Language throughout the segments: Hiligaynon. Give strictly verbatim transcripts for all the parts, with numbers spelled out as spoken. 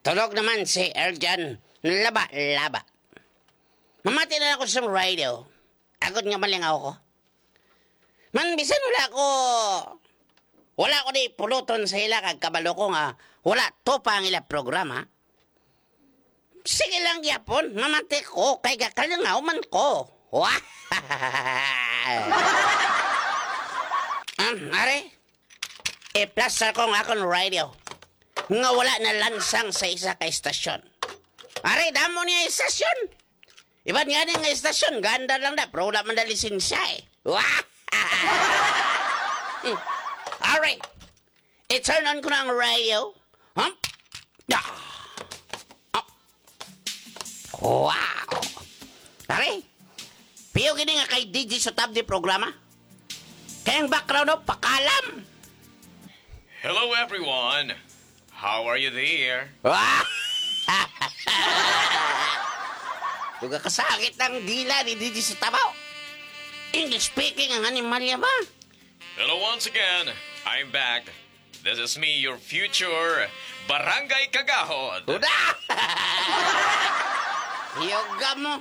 Tulog naman si Eljan, laba-laba. Mamati na ako sa radio. Agod nga malingaw ko. Man, bisan wala ko, wala ko di puluton sa ila kag kabalo ko nga wala to pa ang ila programa. Sige lang gyapon, mamati ko kay gakalingaw man ko. Wah! Ah, are, i-plaster ko ang akon radio nga wala na lansang sa isa ka estasyon. Are, damo niya estasyon. Iban nga nga estasyon, ganda lang na, pero wala man na lisensya eh. Wah! Hmm. Are, i-turn on ko na ang radio. Huh? Ah. Ah. Wow! Are, piyo gini nga kay D J sa tab di programa. Kay ang background, oh, pakalam. Hello, everyone. How are you there? Duga kasakit ang dila ni D J sa tabaw. English speaking ang animal niya ba? Hello once again. I'm back. This is me, your future Barangay Kagahod. Huda! Yoga mo.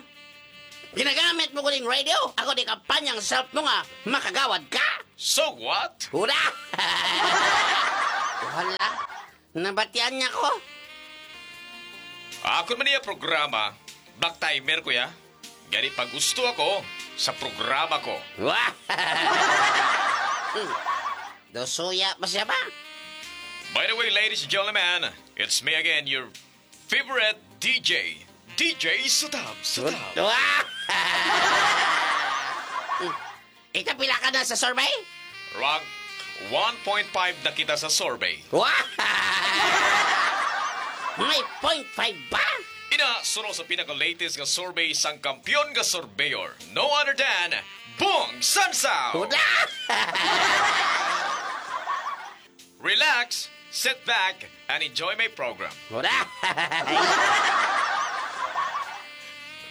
Ginagamit mo ko ning radio? Ako di kampanya ang self mo nga makagawad ka? So what? Huda! Wala. Nabatian niya ko. Akon man iya programa, back timer ko ya. Gani pa gusto ako sa programa ko. Wah! Dosuya pa siya ba? By the way, ladies and gentlemen, it's me again, your favorite D J, D J Sutab, Sutab. Wah! Ikapila ka na sa survey? Rank one point five na kita sa survey. Wah! May point five ba? Ina, suno sa pinaka-latest nga survey sang kampiyon nga surveyor, no other than Bong Sansaw! Huda! Relax, sit back, and enjoy my program. Huda!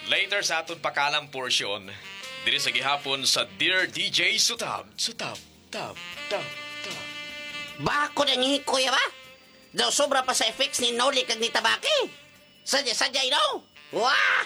Later sa aton pakalam portion, diri sa gihapon sa Dear D J Sutab, Sutab, Tab, Tab, Tab. Bako na ni kuya ba? Daw sobra pa sa effects ni Noli kag ni Tabaki. Sadya-sadya, you know? Wah!